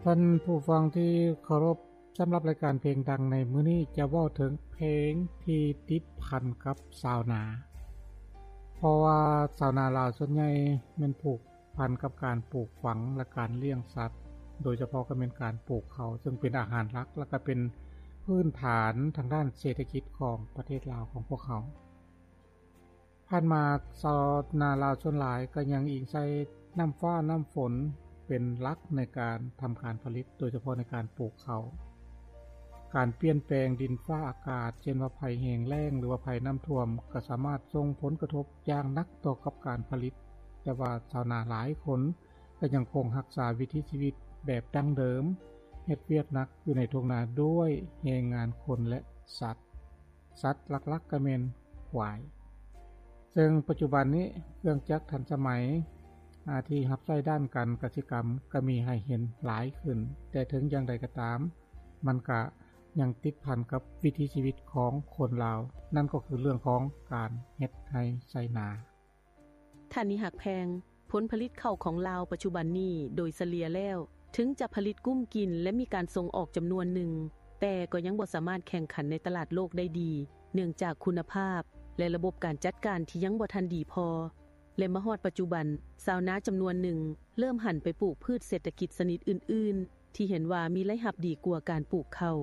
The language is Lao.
ທ່ານຜູ້ຟັງທີ່ເຄົາລົບ, ສຳລັບລາຍການເພງດັງໃນມື້ນີ້ ຈະເວົ້າເຖິງເພງທີ່ຕິດພັນກັບຊາວນາ, ເພາະວ່າຊາວນາລາວສ່ວນໃຫຍ່ແມ່ນຜູກພັນກັບການປູກຝັງ ແລະ ການລ້ຽງສັດ, ໂດຍສະເພາະກໍແມ່ນການປູກເຂົ້າ ເຊິ່ງເປັນອາຫານຫຼັກ ແລະ ກໍເປັນພື້ນຖານທາງດ້ານເສດຖະກິດຂອງປະເທດລາວຂອງພວກເຮົາ. ຜ່ານມາຊາວນາລາວສ່ວນຫຼາຍກໍຍັງອີງໃສ່ນ້ຳຟ້ານ້ຳຝົນເປັນຫຼັກໃນການທຳການຜະລິດ, ໂດຍສະເພາະໃນການປູກເຂົ້າ. ການປ່ຽນແປງດິນຟ້າອາກາດ ເຊັ່ນວ່າໄພແຫ້ງແລ້ງ ຫຼືວ່າໄພນ້ຳຖ້ວມ ກໍສາມາດສົ່ງຜົນກະທົບຢ່າງໜັກຕໍ່ກັບການຜະລິດ, ແຕ່ວ່າຊາວນາຫຼາຍຄົນກໍຍັງຄົງຮັກສາວິຖີຊີວິດແບບດັ້ງເດີມ, ເຮັດວຽກໜັກຢູ່ໃນທົ່ງນາດ້ວຍແຮງງານຄົນ ແລະ ສັດ. ສັດຫຼັກໆກໍແມ່ນຄວາຍ. ເຊິ່ງປັດຈຸບັນນີ້ເຄື່ອງຈັກທັນສະໄໝ ອາ ທີ່ຮັບໃຊ້ດ້ານການກະສິກຳກໍມີໃຫ້ເຫັນຫຼາຍຂຶ້ນ, ແຕ່ເຖິງຢ່າງໃດກໍຕາມ ມັນກະຍັງຕິດພັນກັບວິຖີຊີວິດຂອງຄົນລາວ, ນັ້ນກໍຄືເລື່ອງຂອງການເຮັດໄຮ່ໄຖນາ. ທ່ານນິຮັກແພງ, ຜົນຜະລິດເຂົ້າຂອງລາວປັດຈຸບັນນີ້ໂດຍສະເລ່ຍແລ້ວ ເຖິງຈະຜະລິດກຸ້ມກິນ ແລະ ມີການສົ່ງອອກຈຳນວນໜຶ່ງ, ແຕ່ກໍຍັງບໍ່ສາມາດແຂ່ງຂັນໃນຕະຫຼາດໂລກໄດ້ດີ ເນື່ອງຈາກຄຸນນະພາບ ແລະ ລະບົບການຈັດການທີ່ຍັງບໍ່ທັນດີພໍ ແລະ ມາຮອດປັດຈຸບັນ ຊາວນາຈຳນວນໜຶ່ງເລີ່ມຫັນໄປປູກພືດເສດຖະກິດຊະນິດອື່ນໆ ທີ່ເຫັນວ່າມີລາຍຮັບດີກວ່າການປູກເຂົ້າ.